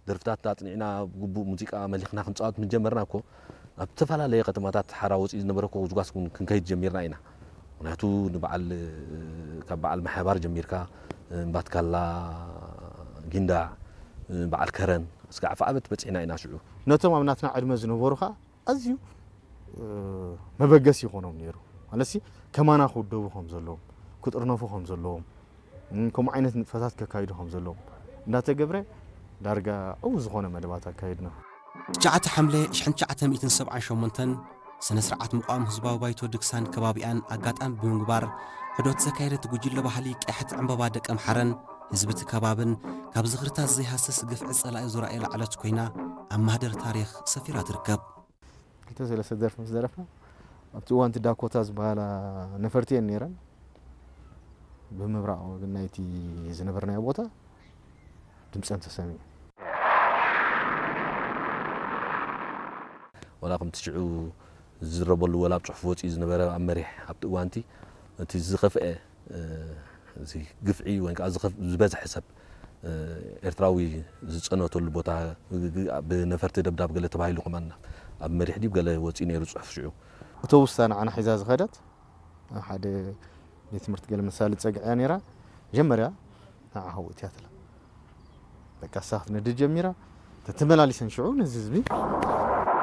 ደርፍታት ኣጽኒዕና፣ ብግቡእ ሙዚቃ መሊኽና ክንጻወት ምስ ጀመርና እኮ፣ ኣብ ዝተፈላለየ ከተማታት ሓራ ወጺኡ ዝነበረ እኮ ጉስጓስ እውን ክንከይድ ጀሚርና ኢና። ምኽንያቱ ንበዓል፣ ካብ በዓል ማሕባር ጀሚርካ፣ እምባትካላ፣ ጊንዳዕ፣ በዓል ከረን፣ ስጋዕ ኣፍዓበት በጺሕና ኢና ሽዑ። ነቶም ኣብ ናትና ዕድመ ዝነበሩ ኸኣ ኣዝዩ፣ እ፣ መበገሲ ይኾኖም ነይሩ። ማለትሲ ከማና ክውደቡ ከም ዘለዎም፣ ክጥርነፉ ከም ዘለዎም፣ እም፣ ከምኡ ዓይነት ንጥፈታት ከካይዱ ከም ዘለዎም እንዳተገብረ ዳርጋ ዕዉት ዝኾነ መደባት ኣካይድና። ትሽዓተ ሓምለ ሽሕን ትሽዓተ ሚእትን ሰብዓን ሸሞንተን ስነ ስርዓት ምቋም ህዝባዊ ባይቶ ድግሳን ከባቢኣን ኣጋጣሚ ብምግባር፣ ሕዶት ዘካየደት ጉጅለ ባህሊ ቀያሕቲ ዕምባባ ደቀምሓረን ህዝቢ እቲ ከባብን ካብ ዝኽርታት ዘይሃስስ ግፍዒ ጸላኢ ዙራኤል ኣዕለት ኮይና ኣብ ማህደር ታሪኽ ሰፊራ ትርከብ። ክልተ ሰለስተ ደርፊ ምስ ደረፍና፣ ኣብቲ እዋን እቲ ዳኮታ ዝበሃላ ነፈርቲ እየን ነይረን። ብምብራቕ ወገን ናይቲ ዝነበርናዮ ቦታ ድምፀን ተሰሚዑ። ዋላ ከምቲ ሽዑ ዝዝረበሉ ወላ ኣብ ጽሑፍ ወጺኡ ዝነበረ ኣብ መሪሕ ኣብቲ እዋንቲ እቲ ዝኸፍአ፣ እ፣ እዚ ግፍዒ ወይ ከዓ ዝኸፍ-፣ ዝበዝሐ ሰብ፣ እ፣ ኤርትራዊ ዝጸነተሉ ቦታ ግ-፣ ግ-፣ ብነፈርቲ ደብዳብ ገለ ተባሂሉ ከማን ኣብ መሪሕ ድዩ ገለ ወጺኡ ነይሩ ጽሑፍ ሽዑ። ኣውቶቡስ እታ ንዓና ሒዛ ዝኸደት ኣብ ሓደ ቤት ትምህርቲ ገለ መሳሊ ጸግዕያ ነይራ። መጀመርያ ንዓ ሃው እትያ ትላ። በቃ እሳ ክትነድድ ጀሚራ። ተተመላሊሰን ሽዑ ነዚ ህዝቢ